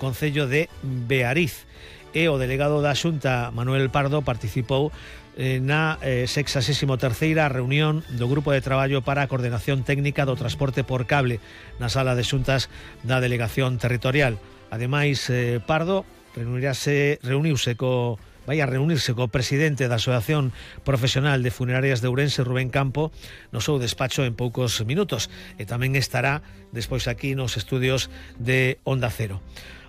concello de Beariz. E o delegado da Xunta, Manuel Pardo, participou na 63ª reunión do Grupo de Traballo para a Coordenación Técnica do Transporte por Cable na Sala de Xuntas da Delegación Territorial. Ademais, Pardo vai a reunirse co presidente da Asociación Profesional de Funerarias de Ourense, Rubén Campo, no seu despacho en poucos minutos, e tamén estará despois aquí nos estudios de Onda Cero.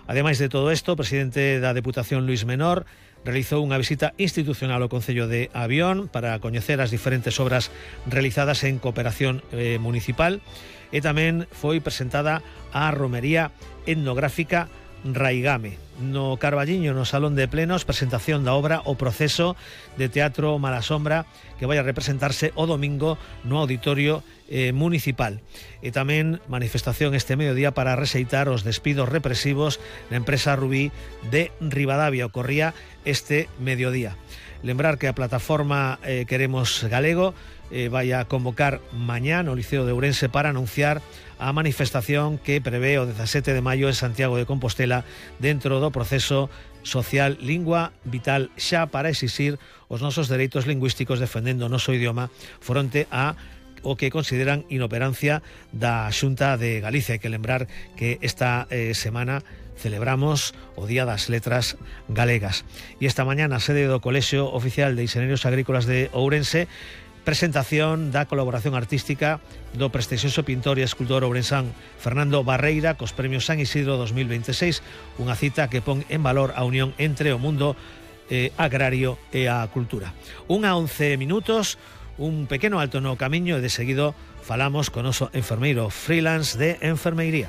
Ademais de todo isto, o presidente da Deputación, Luís Menor, realizou unha visita institucional ao Concello de Avión para coñecer as diferentes obras realizadas en cooperación municipal, e tamén foi presentada a romería etnográfica Raigame. No Carballiño, no Salón de Plenos, presentación da obra O Proceso de Teatro Malasombra, que vai a representarse o domingo no Auditorio Municipal. E tamén manifestación este mediodía para rexeitar os despidos represivos na empresa Rubí de Ribadavia. Ocorría este mediodía. Lembrar que a plataforma Queremos Galego vai a convocar mañá no Liceo de Ourense para anunciar a manifestación que prevé o 17 de maio en Santiago de Compostela dentro do proceso social Lingua Vital Xa, para exixir os nosos dereitos lingüísticos defendendo o noso idioma fronte a o que consideran inoperancia da Xunta de Galicia. Hai que lembrar que esta semana celebramos o Día das Letras Galegas. E esta mañá na sede do Colexio Oficial de Inxeñeros Agrícolas de Ourense, presentación da colaboración artística do prestixioso pintor e escultor ourensán Fernando Barreira cos premios San Isidro 2026, unha cita que pon en valor a unión entre o mundo agrario e a cultura. 1:11 minutos, un pequeno alto no camiño e de seguido falamos con o noso enfermeiro freelance de enfermeiría.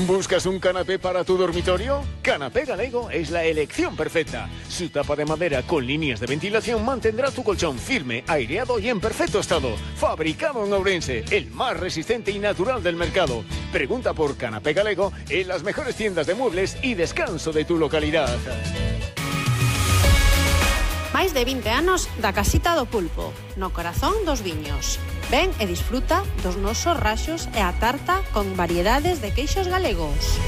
¿Buscas un canapé para tu dormitorio? Canapé Galego es la elección perfecta. Su tapa de madera con líneas de ventilación mantendrá tu colchón firme, aireado y en perfecto estado. Fabricado en Ourense, el más resistente y natural del mercado. Pregunta por Canapé Galego en las mejores tiendas de muebles y descanso de tu localidad. Máis de 20 anos da Casita do Pulpo, no corazón dos viños. Ven e disfruta dos nosos raxos e a tarta con variedades de queixos galegos.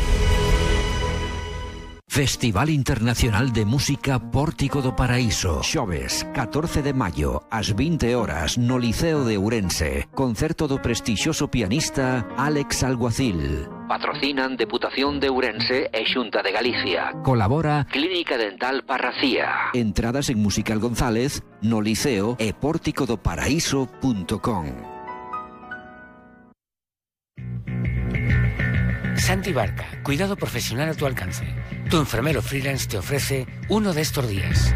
Festival Internacional de Música Pórtico do Paraíso. Xoves, 14 de maio, ás 20 horas, no Liceo de Ourense. Concerto do prestixioso pianista Álex Alguacil. Patrocinan Deputación de Ourense e Xunta de Galicia. Colabora Clínica Dental Parracía. Entradas en Musical González, no Liceo e pórticodoparaíso.com. Santi Barca, cuidado profesional a tu alcance. Tu enfermero freelance te ofrece uno de estos días.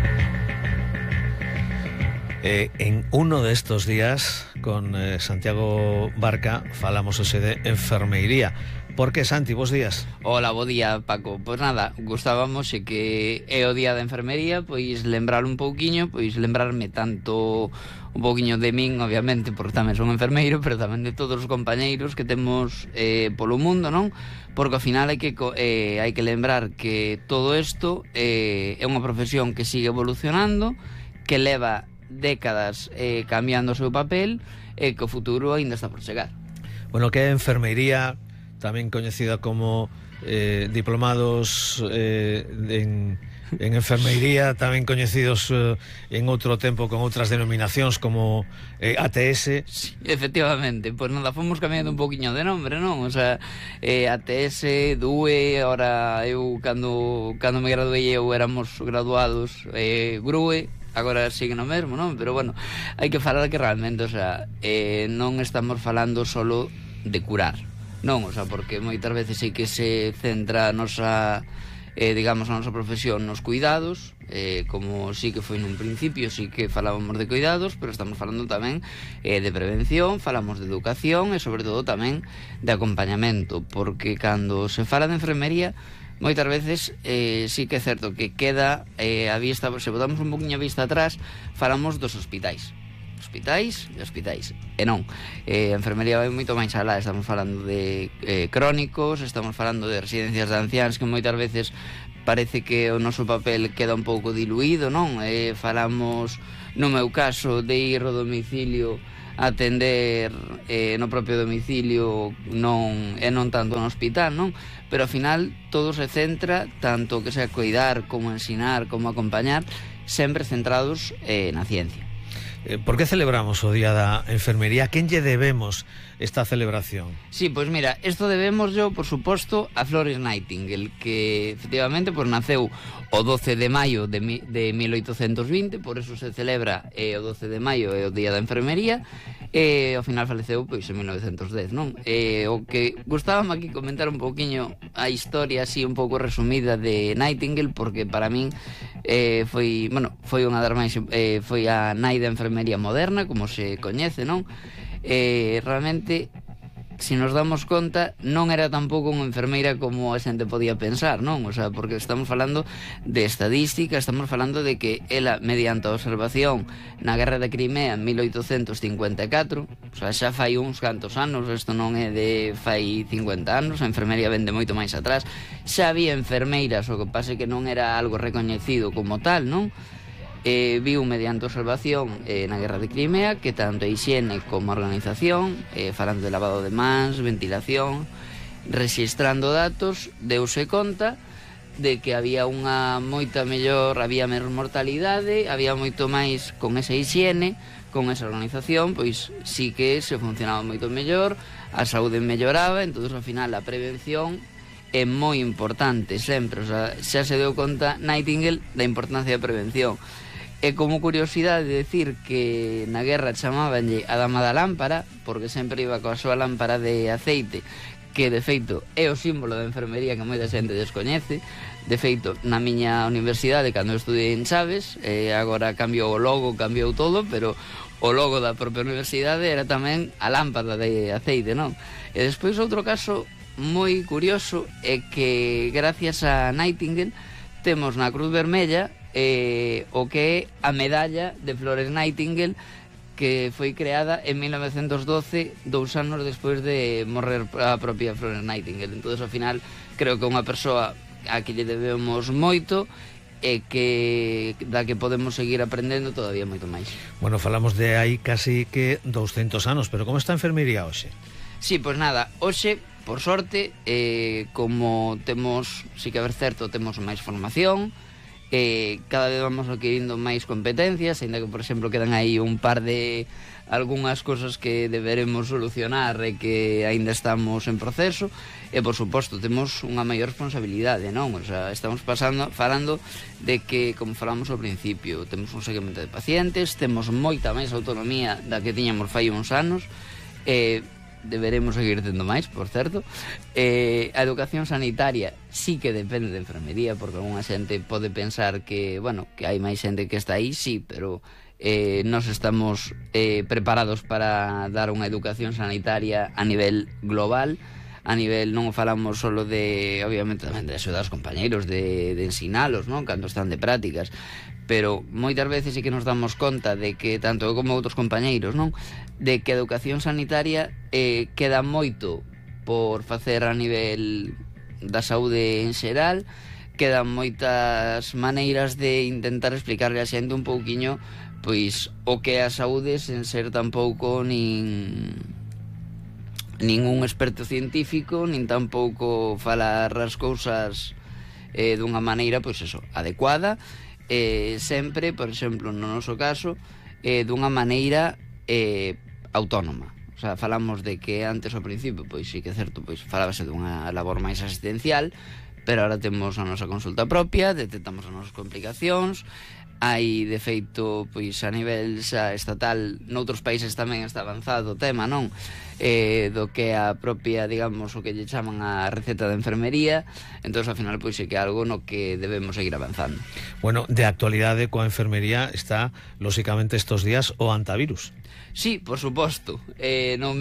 En uno de estos días, con Santiago Barca, falamos hoxe de enfermeiría. Por que, Santi? Bos días. Hola, bo día, Paco. Pois nada, gustábamos que é o día da enfermería, pois lembrar un pouquiño, pois lembrarme tanto un pouquiño de min, obviamente, porque tamén son enfermeiro, pero tamén de todos os compañeiros que temos polo mundo, non? Porque ao final hai que lembrar que todo isto é unha profesión que sigue evolucionando, que leva décadas cambiando o seu papel e que o futuro aínda está por chegar. Bueno, que é enfermeiría, tamén coñecida como diplomados en enfermeiría, tamén coñecidos en outro tempo con outras denominacións como ATS. Sí, efectivamente, pois nada, fomos cambiando un poquinho de nombre, non? O sea, ATS, DUE, ahora eu cando me graduei eu éramos graduados GRUE, agora sigue no mesmo, non? Pero bueno, hai que falar que realmente, o sea, non estamos falando solo de curar, non? O sea, porque moitas veces sí que se centra a nosa, digamos, a nosa profesión nos cuidados, como sí que foi nun principio, sí que falábamos de cuidados, pero estamos falando tamén de prevención, falamos de educación e sobre todo tamén de acompañamento, porque cando se fala de enfermería, moitas veces sí que é certo que queda a vista, se botamos un poquinho a vista atrás, falamos dos hospitais e hospitais, e non, a enfermería vai moito máis alá. Estamos falando de crónicos, estamos falando de residencias de anciáns, que moitas veces parece que o noso papel queda un pouco diluído, non? Falamos, no meu caso, de ir ao domicilio atender no propio domicilio non tanto no hospital, non? Pero ao final todo se centra, tanto que sea cuidar como ensinar, como acompañar, sempre centrados na ciencia. Por que celebramos o Día da Enfermería? A quen lle debemos esta celebración? Sí, pois mira, isto debemos yo, por suposto, a Florence Nightingale, que efectivamente pues, naceu o 12 de maio de 1820, por eso se celebra o 12 de maio é o Día da Enfermería, e ao final faleceu pois en 1910, non? O que gustábame aquí comentar un pouquiño a historia así un pouco resumida de Nightingale, porque para min foi unha das máis foi a nai da enfermería moderna, como se coñece, non? Realmente, se nos damos conta, non era tampouco unha enfermeira como a xente podía pensar, non? O sea, porque estamos falando de estadística, estamos falando de que ela, mediante a observación na Guerra de Crimea en 1854, o sea, xa fai uns cantos anos, isto non é de fai 50 anos, a enfermería vende moito máis atrás, xa había enfermeiras, o que pase que non era algo recoñecido como tal, non? Viu mediante observación na Guerra de Crimea que tanto a higiene como a organización, falando de lavado de mans, ventilación, registrando datos, deuse conta de que había unha moita mellor, había menos mortalidade, había moito máis con esa higiene, con esa organización, pois sí que se funcionaba moito mellor, a saúde melloraba, entón ao final a prevención é moi importante sempre, o sea, xa se deu conta Nightingale da importancia da prevención. E como curiosidade decir que na guerra chamábanlle a dama da lámpara, porque sempre iba coa súa lámpara de aceite, que de feito é o símbolo da enfermería que moita xente descoñece. De feito, na miña universidade, cando eu estudiei en Chaves, agora cambiou o logo, cambiou todo, pero o logo da propia universidade era tamén a lámpara de aceite, non? E despois outro caso moi curioso é que gracias a Nightingale temos na Cruz Vermella o que é a medalla de Florence Nightingale, que foi creada en 1912, 2 anos despois de morrer a propia Florence Nightingale. Entón, ao final, creo que é unha persoa a que lle debemos moito e que da que podemos seguir aprendendo todavía moito máis. Bueno, falamos de aí casi que 200 anos, pero como está a enfermería hoxe? Sí, pois nada, hoxe, por sorte, como temos, sí que a ver certo, temos máis formación, cada vez vamos adquirindo máis competencias, ainda que, por exemplo, quedan aí un par de algunhas cosas que deberemos solucionar e que aínda estamos en proceso, e, por suposto, temos unha maior responsabilidade, non? O sea, estamos falando de que, como falamos ao principio, temos un seguimento de pacientes, temos moita máis autonomía da que tiñamos fai uns anos, deberemos seguir tendo máis, por certo. A educación sanitaria sí que depende de enfermería, porque alguna xente pode pensar que, bueno, que hai máis xente que está aí, sí, pero nós estamos preparados para dar unha educación sanitaria a nivel global, a nivel, non falamos solo de, obviamente, tamén de axudar aos compañeiros, de ensinalos, non? Cando están de prácticas, pero moitas veces sí que nos damos conta de que, tanto eu como outros compañeiros, non? De que a educación sanitaria queda moito por facer a nivel da saúde en xeral, quedan moitas maneiras de intentar explicarle a xente un pouquiño pois o que é a saúde sen ser tampouco nin un experto científico, nin tampouco falar as cousas dunha maneira, pois eso, adecuada, sempre, por exemplo, no noso caso, dunha maneira autónoma. O sea, falamos de que antes ao principio, pois sí que é certo, pois falábase dunha labor máis asistencial, pero agora temos a nosa consulta propia, detectamos as nosas complicacións. Hai, de feito, pois a nivel xa estatal, noutros países tamén está avanzado o tema, non? Do que a propia, digamos, o que lle chaman a receta de enfermería. Entón, ao final, pois é que é algo no que debemos seguir avanzando. Bueno, de actualidade coa enfermería está, lóxicamente, estos días o antivirus. Sí, por suposto. Non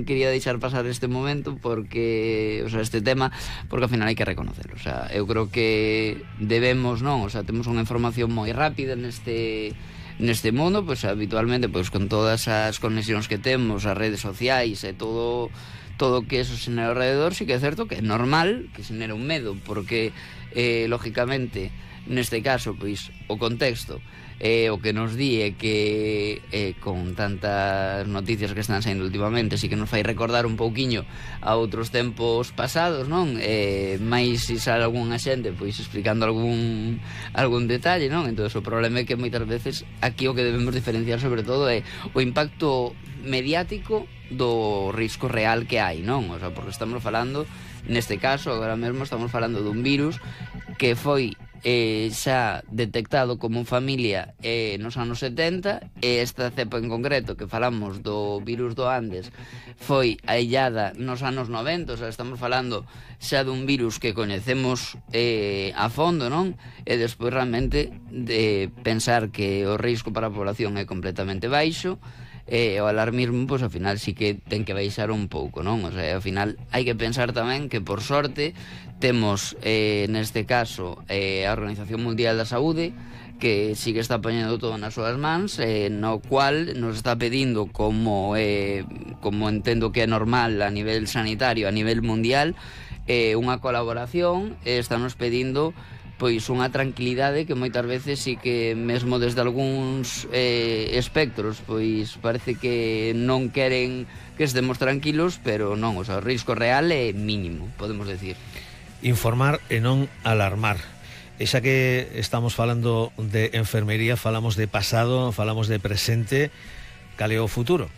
quería deixar pasar este momento porque, o sea, este tema, porque ao final hai que reconocerlo. O sea, eu creo que debemos, non? O sea, temos unha información moi rápida neste mundo, pois habitualmente, pois con todas as conexións que temos, as redes sociais e todo que eso xenera alrededor, sí que é certo que é normal que xenera un medo, porque lógicamente, neste caso, pois, o contexto o que nos di é que con tantas noticias que están saindo últimamente, sí que nos fai recordar un pouquiño a outros tempos pasados, non? Mais se sale algunha xente pois explicando algún detalle, non? Entón o problema é que moitas veces aquí o que debemos diferenciar sobre todo é o impacto mediático do risco real que hai, non? O sea, porque estamos falando, neste caso, agora mesmo estamos falando dun virus que foi xa detectado como familia nos anos 70, e esta cepa en concreto que falamos do virus do Andes foi aillada nos anos 90, o sea, estamos falando xa dun virus que coñecemos a fondo, non? E despois realmente de pensar que o risco para a población é completamente baixo, o alarmismo, pois, ao final sí que ten que baixar un pouco, non? O sea, ao final hai que pensar tamén que, por sorte, temos, neste caso, a Organización Mundial da Saúde, que sí que está poñendo todo nas súas mans, no cual nos está pedindo, como entendo que é normal a nivel sanitario, a nivel mundial, unha colaboración, está nos pedindo pois unha tranquilidade que moitas veces sí que mesmo desde algúns espectros pois parece que non queren que estemos tranquilos, pero non, o sea, o risco real é mínimo, podemos decir. Informar e non alarmar. E xa que estamos falando de enfermería, falamos de pasado, falamos de presente, cal é o futuro?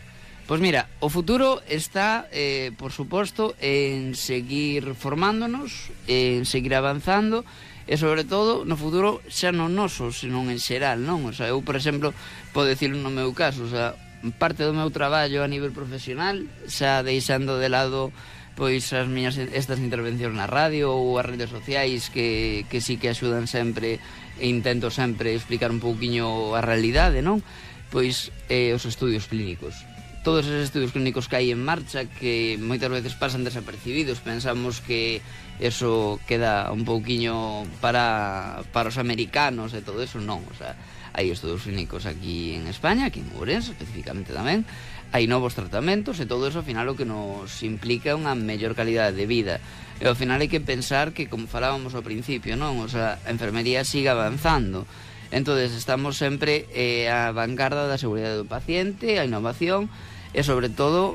Pois mira, o futuro está, por suposto, en seguir formándonos, en seguir avanzando, e sobre todo no futuro xa non noso, senón en xeral, non? O sea, eu, por exemplo, podo dicirlo no meu caso, o sea, parte do meu traballo a nivel profesional, xa deixando de lado pois estas intervencións na radio ou as redes sociais que sí que axudan sempre, e intento sempre explicar un pouquiño a realidade, non? Pois os estudios clínicos. Todos esos estudios clínicos que hai en marcha, que moitas veces pasan desapercibidos, pensamos que eso queda un pouquiño para os americanos e todo eso, non, o sea, hai estudios clínicos aquí en España, aquí en Ourense especificamente tamén, hai novos tratamentos e todo eso ao final o que nos implica unha mellor calidade de vida, e ao final hai que pensar que, como falábamos ao principio, non, o sea, a enfermería sigue avanzando, entonces estamos sempre a vanguarda da seguridade do paciente, a innovación, e sobre todo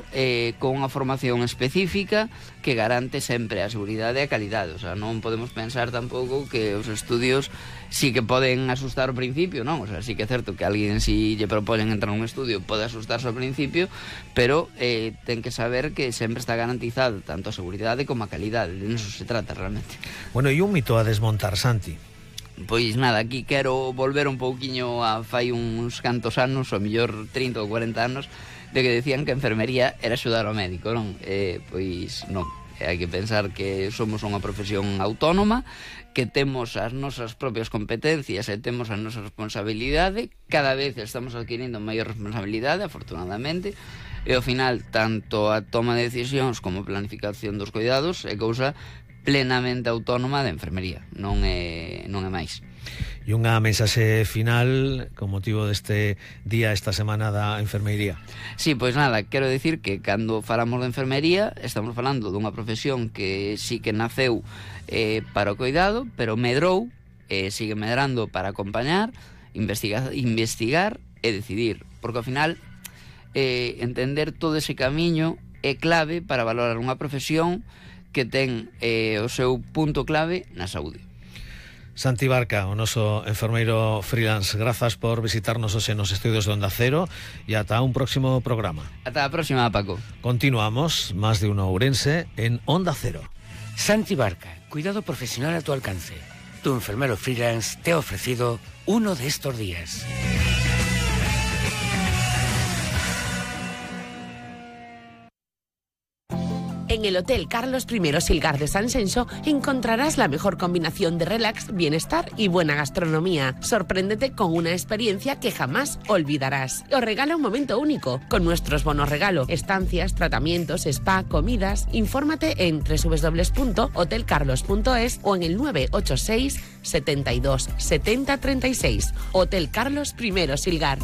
con unha formación específica que garante sempre a seguridade e a calidade. O sea, non podemos pensar tampouco que os estudios sí que poden asustar ao principio, non? O sea, sí que é certo que alguén si lle proponen entrar nun estudio pode asustarse ao principio, pero ten que saber que sempre está garantizado tanto a seguridade como a calidade. De eso se trata realmente. Bueno, e un mito a desmontar, Santi? Pois nada, aquí quero volver un pouquiño a fai uns cantos anos, ou mellor 30 ou 40 anos, de que decían que a enfermería era axudar ao médico, non? Pois non, hai que pensar que somos unha profesión autónoma, que temos as nosas propias competencias e temos a nosa responsabilidade, cada vez estamos adquirindo maior responsabilidade, afortunadamente, e ao final, tanto a toma de decisións como a planificación dos cuidados é cousa plenamente autónoma da enfermería, non é máis. E unha mensaxe final con motivo deste día, esta semana da enfermería. Sí, pois nada, quero dicir que cando falamos de enfermería estamos falando dunha profesión que sí que naceu para o cuidado, pero medrou, sigue medrando para acompañar, investigar e decidir, porque ao final entender todo ese camiño é clave para valorar unha profesión que ten o seu punto clave na saúde. Santi Barca, o noso enfermeiro freelance, grazas por visitarnos hoxe nos estudios de Onda Cero e ata un próximo programa. Ata a próxima, Paco. Continuamos, más de uno Ourense, en Onda Cero. Santi Barca, cuidado profesional a tu alcance. Tu enfermero freelance te ha ofrecido uno de estos días. En el Hotel Carlos I Silgar de San Xenxo encontrarás la mejor combinación de relax, bienestar y buena gastronomía. Sorpréndete con una experiencia que jamás olvidarás. Os regala un momento único con nuestros bonos regalo, estancias, tratamientos, spa, comidas. Infórmate en www.hotelcarlos.es o en el 986 72 70 36. Hotel Carlos I Silgar.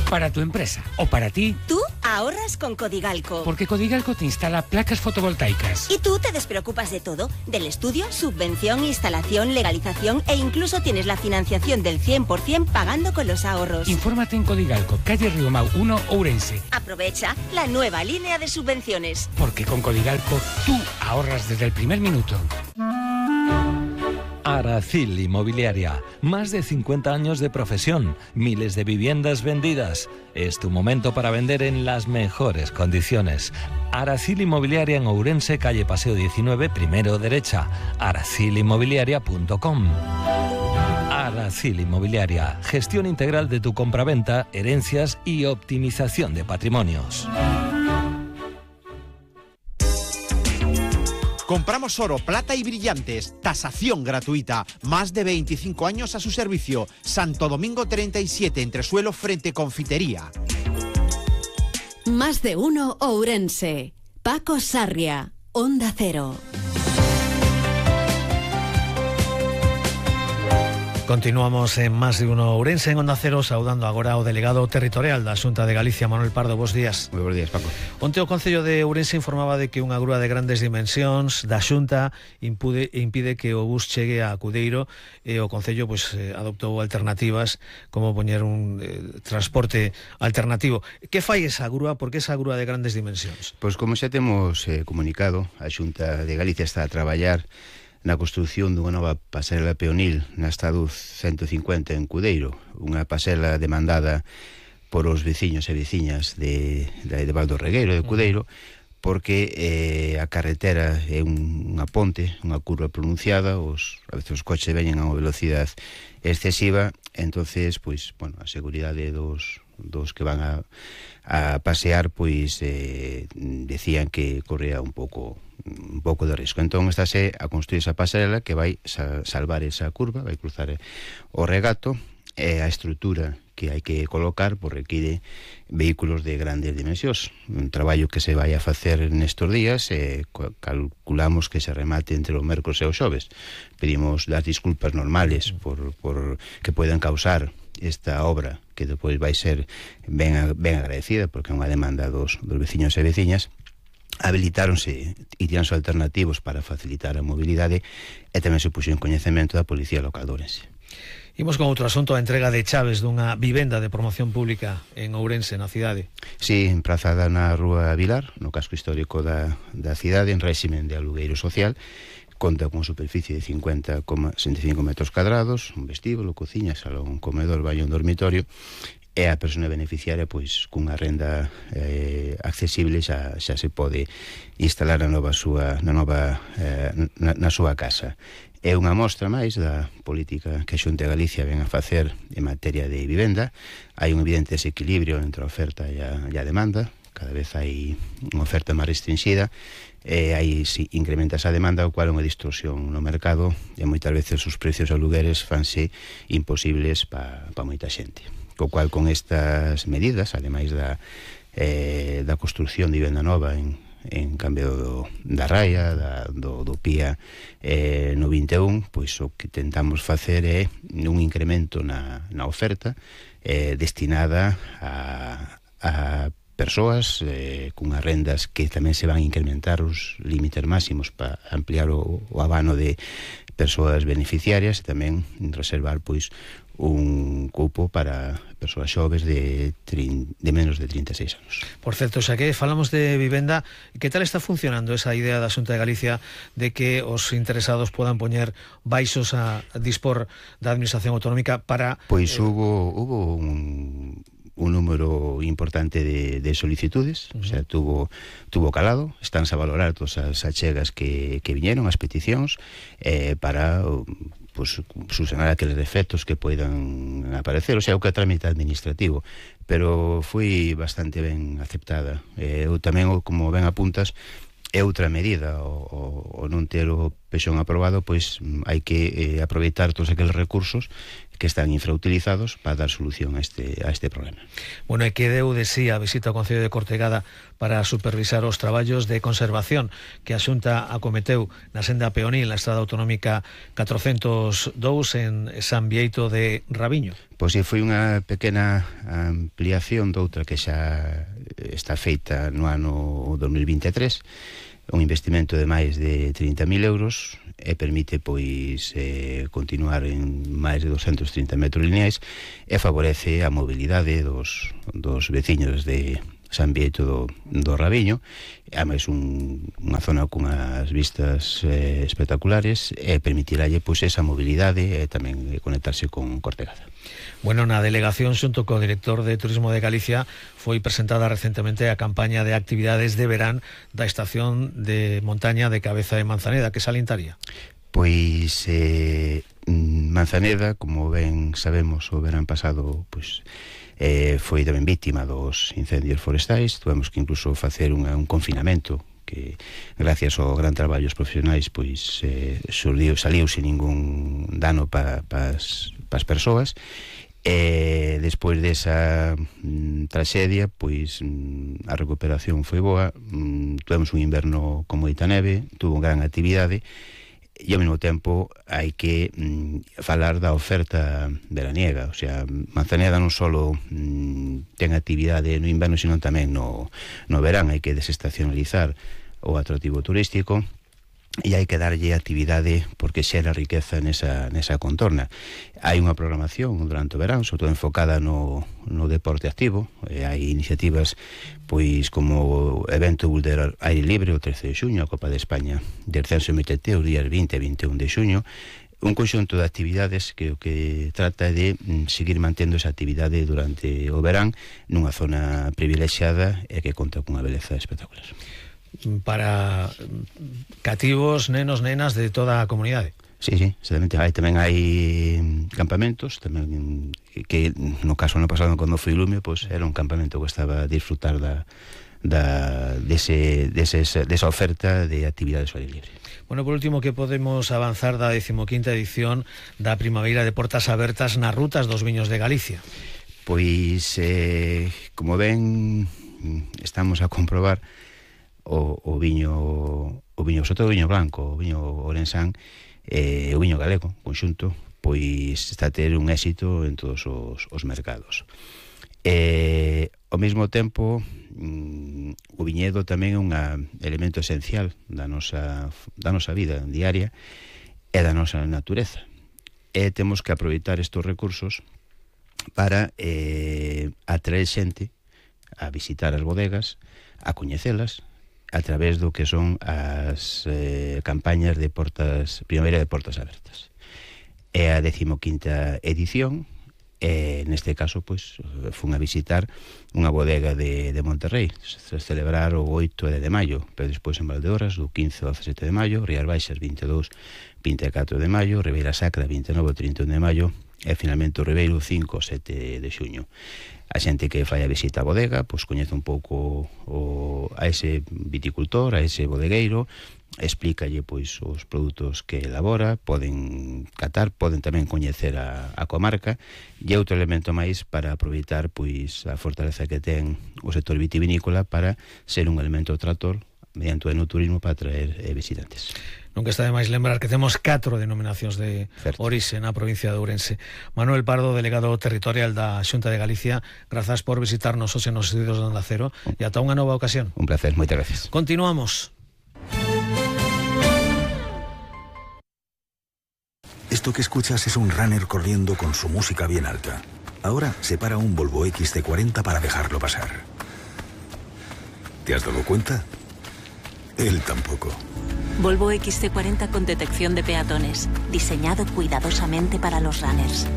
para tu empresa o para ti. Tú ahorras con Codigalco. Porque Codigalco te instala placas fotovoltaicas. Y tú te despreocupas de todo, del estudio, subvención, instalación, legalización e incluso tienes la financiación del 100% pagando con los ahorros. Infórmate en Codigalco, calle Riomau 1, Ourense. Aprovecha la nueva línea de subvenciones. Porque con Codigalco tú ahorras desde el primer minuto. Aracil Inmobiliaria, más de 50 años de profesión, miles de viviendas vendidas. Es tu momento para vender en las mejores condiciones. Aracil Inmobiliaria en Ourense, calle Paseo 19, primero derecha, aracilinmobiliaria.com. Aracil Inmobiliaria, gestión integral de tu compraventa, herencias y optimización de patrimonios. Compramos oro, plata y brillantes. Tasación gratuita. Más de 25 años a su servicio. Santo Domingo 37, entresuelo frente Confitería. Más de uno Ourense. Paco Sarria, Onda Cero. Continuamos en Más de uno Ourense, en Onda Cero, saudando agora ao delegado territorial da Xunta de Galicia, Manuel Pardo. Bos días. Moi bons días, Paco. Onte o Concello de Ourense informaba de que unha grúa de grandes dimensións da Xunta impide que o bus chegue a Cudeiro, e o Concello adoptou alternativas como poñer un transporte alternativo. Que fai esa grúa? Por que esa grúa de grandes dimensións? Pois como xa temos comunicado, a Xunta de Galicia está a traballar na construción dunha nova pasarela peonil na Estado 150 en Cudeiro, unha pasarela demandada por os veciños e veciñas de Val do Regueiro, de Cudeiro, porque a carretera é unha ponte, unha curva pronunciada, a veces os coches veñen a unha velocidade excesiva, entonces, a seguridade dos que van a pasear, decían que corría un pouco de risco. Entón, estáse a construir esa pasarela que vai salvar esa curva, vai cruzar o regato, e a estrutura que hai que colocar require vehículos de grandes dimensións. Un traballo que se vai a facer nestes días, calculamos que se remate entre o mércores e o xoves. Pedimos das disculpas normales por que poidan causar esta obra, que depois vai ser ben agradecida, porque é unha demanda dos veciños e veciñas. Habilitáronse itinerários alternativos para facilitar a mobilidade, e tamén se puxo en coñecemento da Policía Local de Ourense. Imos con outro asunto, a entrega de chaves dunha vivenda de promoción pública en Ourense, na cidade. Sí, emprazada na Rúa Vilar, no casco histórico da cidade, en réximen de alugueiro social. Conta con superficie de 50,65 metros cuadrados, un vestíbulo, cociña, salón, comedor, baño, dormitorio, e a persona beneficiaria, cunha renda accesible, xa se pode instalar na súa casa. É unha mostra máis da política que a Xunta de Galicia ven a facer en materia de vivenda. Hai un evidente desequilibrio entre a oferta e a demanda. Cada vez hai unha oferta máis restringida, e aí si incrementa esa demanda, o cual é unha distorsión no mercado, e moitas veces os precios de alugueres fanse imposibles para moita xente. Co cual, con estas medidas, ademais da construción de vivenda nova en cambio da raia, do PIA no 21, o que tentamos facer é un incremento na oferta destinada a persoas cunhas rendas que tamén se van a incrementar os límites máximos para ampliar o abano de persoas beneficiarias, e tamén reservar un cupo para persoas xoves de menos de 36 anos. Por certo, xa que falamos de vivenda, que tal está funcionando esa idea da Xunta de Galicia de que os interesados podan poñer baixos a dispor da Administración Autonómica para... Hubo un número importante de solicitudes, o sea, tuvo calado, estánse a valorar todas as achegas que viñeron, as peticións, para subsanar aqueles defectos que poidan aparecer, o sea, o que é trámite administrativo, pero foi bastante ben aceptada. Eu tamén, como ben apuntas, é outra medida, o non ter o pexón aprobado, pois hai que aproveitar todos aqueles recursos que están infrautilizados para dar solución a este problema. Bueno, e que deu de sí a visita ao Concello de Cortegada para supervisar os traballos de conservación que a Xunta acometeu na senda peonil na estrada autonómica 402 en San Bieito de Rabiño? Pois foi unha pequena ampliación doutra que xa está feita no ano 2023, un investimento de máis de 30.000 euros e permite pois continuar en máis de 230 metros lineais e favorece a mobilidade dos veciños de San Bieito do Rabiño, e ademais unha zona con as vistas espectaculares, e permitiralle pois esa mobilidade e tamén conectarse con Cortegada. Bueno, na delegación xunto co director de Turismo de Galicia foi presentada recentemente a campaña de actividades de verán da estación de montaña de Cabeza de Manzaneda. Que salientaría? Pois Manzaneda, como ben sabemos, o verán pasado pois foi tamén vítima dos incendios forestais. Tuvemos que incluso facer un confinamento que, gracias ao gran traballo dos profesionais, pois saliu sin ningún dano para as persoas. Despois desa traxedia, pois a recuperación foi boa. Tuvemos un inverno con moita neve, tuvo gran actividade, e ao mesmo tempo hai que falar da oferta veraniega. O sea, Manzaneda non só ten actividade no inverno, sino tamén no verán. Hai que desestacionalizar o atractivo turístico e hai que darlle actividade porque xera riqueza nesa contorna. Hai unha programación durante o verán, sobre todo enfocada no deporte activo. Hai iniciativas pois como o evento Boulder Aire Libre o 13 de xuño, a Copa de España de Descenso MTT os días 20 e 21 de xuño, un conxunto de actividades que o que trata é de seguir mantendo esa actividade durante o verán nunha zona privilexiada e que conta cunha beleza espectacular para cativos, nenos, nenas de toda a comunidade. Sí, exactamente. Tamén hai campamentos tamén, que no caso no pasado cando foi Lumio, pois era un campamento que estaba a disfrutar desa oferta de actividades ao aire libre. Bueno, por último, que podemos avanzar da 15ª edición da Primavera de Portas Abertas nas rutas dos viños de Galicia? Pois, como ven, estamos a comprobar o viño, sobre todo o viño blanco, o viño orensán, o viño galego, conxunto, pois está a ter un éxito en todos os mercados. Ao mesmo tempo, o viñedo tamén é un elemento esencial da nosa vida diaria e da nosa natureza. E temos que aproveitar estes recursos para atraer xente a visitar as bodegas, a coñecelas, a través do que son as campañas de Primavera de Portas Abertas. É a 15ª edición, e neste caso pois fun a visitar unha bodega de Monterrey, se celebrar o 8 de maio, pero despois en Valdeorras do 15 ao 17 de maio, Rías Baixas 22, 24 de maio, Ribeira Sacra 29 ao 31 de maio e finalmente o Ribeiro 5 ao 7 de xuño. A xente que fai a visita á bodega pois coñece un pouco a ese viticultor, a ese bodegueiro, explícalle pois os produtos que elabora, poden catar, poden tamén coñecer a comarca, e outro elemento máis para aproveitar pois a fortaleza que ten o sector vitivinícola para ser un elemento trator mediante o enoturismo para atraer visitantes. Nunca está de máis lembrar que temos 4 denominacións de orixe na provincia de Ourense. Manuel Pardo, delegado territorial da Xunta de Galicia, grazas por visitarnos hoxe nos estudios de Onda Cero e ata unha nova ocasión. Un placer, moitas gracias. Continuamos. Esto que escuchas es un runner corriendo con su música bien alta. Ahora se para un Volvo XC40 para dejarlo pasar. ¿Te has dado cuenta? Él tampoco. Volvo XC40 con detección de peatones, diseñado cuidadosamente para los runners.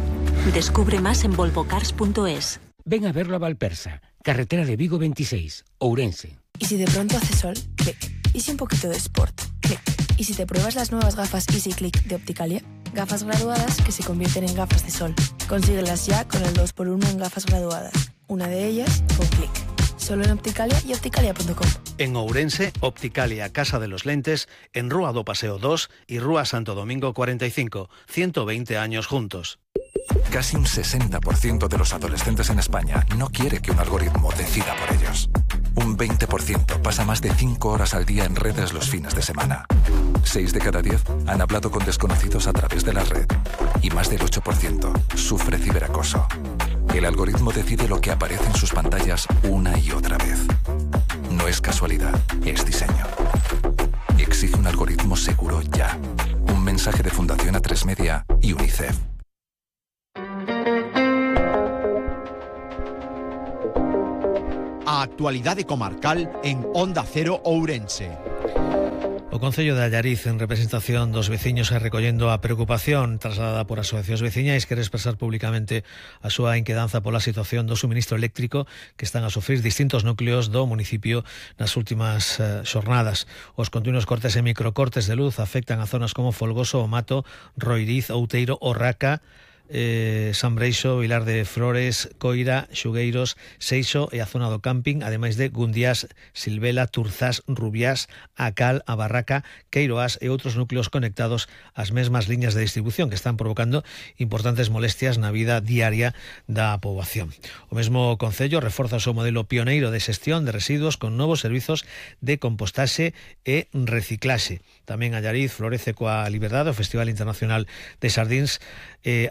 Descubre más en volvocars.es. Ven a verlo a Valpersa, carretera de Vigo 26, Ourense. ¿Y si de pronto hace sol? Clic. ¿Y si un poquito de sport? Clic. ¿Y si te pruebas las nuevas gafas Easy Click de Opticalia? Gafas graduadas que se convierten en gafas de sol. Consíguelas ya con el 2x1 en gafas graduadas. Una de ellas con Clic. Solo en Opticalia y opticalia.com. En Ourense, Opticalia Casa de los Lentes, en Rúa do Paseo 2 y Rúa Santo Domingo 45, 120 años juntos. Casi un 60% de los adolescentes en España no quiere que un algoritmo decida por ellos. Un 20% pasa más de 5 horas al día en redes los fines de semana. 6 de cada 10 han hablado con desconocidos a través de la red. Y más del 8% sufre ciberacoso. El algoritmo decide lo que aparece en sus pantallas una y otra vez. No es casualidad, es diseño. Exige un algoritmo seguro ya. Un mensaje de Fundación A3 Media y UNICEF. A actualidade comarcal en Onda Cero Ourense. O Concello de Allariz, en representación dos veciños, e recollendo a preocupación trasladada por asociacións veciñais, quere expresar públicamente a súa inquedanza pola situación do suministro eléctrico que están a sufrir distintos núcleos do municipio nas últimas xornadas. Os continuos cortes e microcortes de luz afectan a zonas como Folgoso, O Mato, Roiriz, Outeiro, Orraca, San Breixo, Vilar de Flores, Coira, Xugueiros, Seixo e a zona do camping, ademais de Gundiás, Silvela, Turzás, Rubiás, A Cal, A Barraca, Queiroás e outros núcleos conectados ás mesmas liñas de distribución que están provocando importantes molestias na vida diaria da poboación. O mesmo Concello reforza o seu modelo pioneiro de xestión de residuos con novos servizos de compostaxe e reciclaxe. Tamén Allariz florece coa Liberdade, o Festival Internacional de Sardíns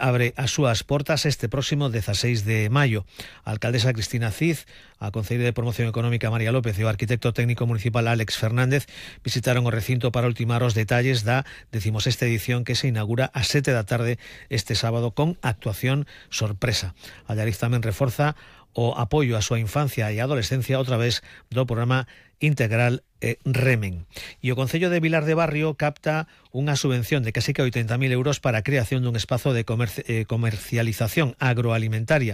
abre as súas portas este próximo 16 de maio. A alcaldesa Cristina Cid, a concelleira de Promoción Económica María López e o arquitecto técnico municipal Álex Fernández visitaron o recinto para ultimar os detalles da 16ª edición que se inaugura ás 7 da tarde este sábado con actuación sorpresa. Allariz tamén reforza o apoio á súa infancia e adolescencia a través do programa integral Remen. E o Concello de Vilar de Barrio capta unha subvención de casi que 80.000 euros para a creación dun espazo de comercialización agroalimentaria.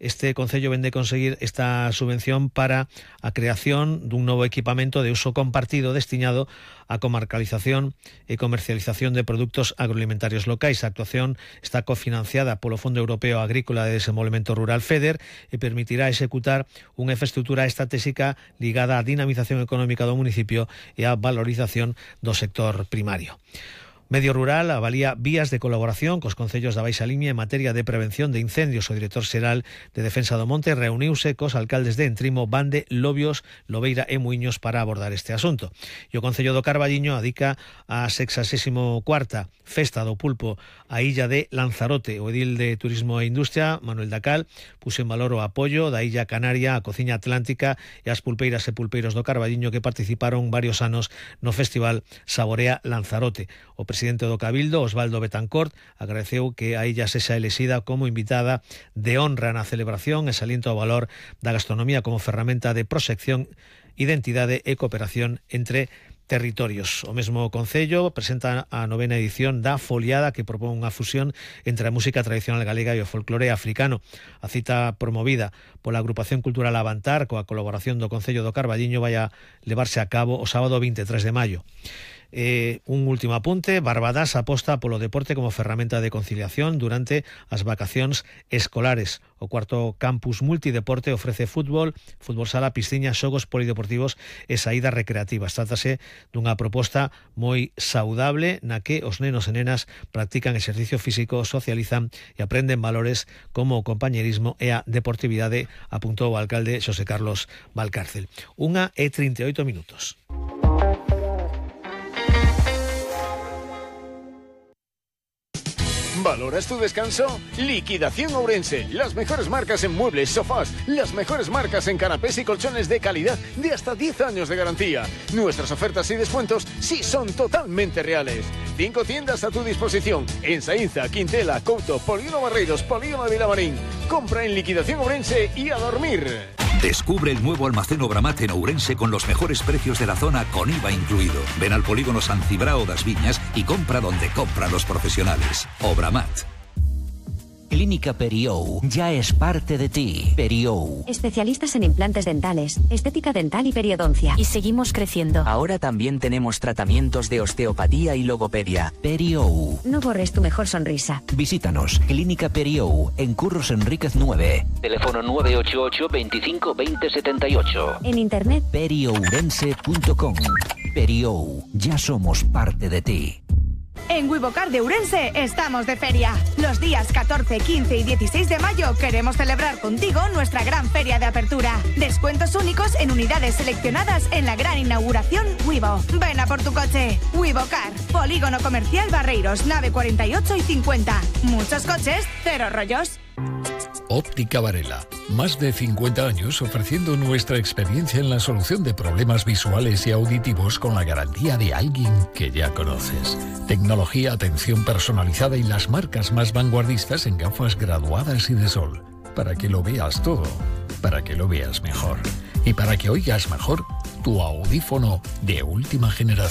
Este Concello vende conseguir esta subvención para a creación dun novo equipamento de uso compartido destinado á comarcalización e comercialización de produtos agroalimentarios locais. A actuación está cofinanciada polo Fondo Europeo Agrícola de Desenvolvemento Rural FEDER e permitirá executar unha infraestructura estratégica ligada á dinamización económica do municipio e á valorización do sector primario. Medio Rural avalía vías de colaboración cos concellos da Baixa Limia en materia de prevención de incendios. O director xeral de Defensa do Monte reuniuse cos alcaldes de Entrimo, Bande, Lobios, Lobeira e Muiños para abordar este asunto. E o Concello do Carballiño adica a 64ª Festa do Pulpo a illa de Lanzarote. O edil de Turismo e Industria, Manuel Dacal, puso en valor o apoio da illa Canaria, a Cociña Atlántica e as pulpeiras e pulpeiros do Carballiño que participaron varios anos no Festival Saborea Lanzarote. O presidente do Cabildo, Osvaldo Betancourt, agradeceu que a illa sexa elexida como invitada de honra na celebración e salienta o valor da gastronomía como ferramenta de proxección, identidade e cooperación entre territorios. O mesmo Concello presenta a 9ª edición da Foliada, que propón unha fusión entre a música tradicional galega e o folclore africano. A cita promovida pola Agrupación Cultural Avantar coa colaboración do Concello do Carballiño vai a levarse a cabo o sábado 23 de maio. Un último apunte: Barbadas aposta polo deporte como ferramenta de conciliación durante as vacacións escolares. O cuarto campus multideporte ofrece fútbol, fútbol sala, piscina, xogos polideportivos e saídas recreativas. Trátase dunha proposta moi saudable na que os nenos e nenas practican exercicio físico, socializan e aprenden valores como o compañerismo e a deportividade, apuntou o alcalde Xosé Carlos Valcárcel. 1:38. ¿Valoras tu descanso? Liquidación Ourense. Las mejores marcas en muebles, sofás, las mejores marcas en canapés y colchones de calidad de hasta 10 años de garantía. Nuestras ofertas y descuentos sí son totalmente reales. 5 tiendas a tu disposición en Saínza, Quintela, Couto, Polígono Barreiros, Polígono de Vilamarín. Compra en Liquidación Ourense y a dormir. Descubre el nuevo almacén Obramat en Ourense con los mejores precios de la zona con IVA incluido. Ven al polígono San Cibrao das Viñas y compra donde compran los profesionales. Obramat. Clínica Periou ya es parte de ti. Periou. Especialistas en implantes dentales, estética dental y periodoncia. Y seguimos creciendo. Ahora también tenemos tratamientos de osteopatía y logopedia. Periou. No borres tu mejor sonrisa. Visítanos. Clínica Periou, en Curros Enríquez 9. Teléfono 988 25 20 78. En internet periourense.com. Periou, ya somos parte de ti. En Wivocar de Ourense estamos de feria. Los días 14, 15 y 16 de mayo queremos celebrar contigo nuestra gran feria de apertura. Descuentos únicos en unidades seleccionadas en la gran inauguración Wivo. Ven a por tu coche. Wivocar, Polígono Comercial Barreiros, nave 48 y 50. Muchos coches, cero rollos. Óptica Varela. Más de 50 años ofreciendo nuestra experiencia en la solución de problemas visuales y auditivos con la garantía de alguien que ya conoces. Tecnología, atención personalizada y las marcas más vanguardistas en gafas graduadas y de sol. Para que lo veas todo, para que lo veas mejor y para que oigas mejor tu audífono de última generación.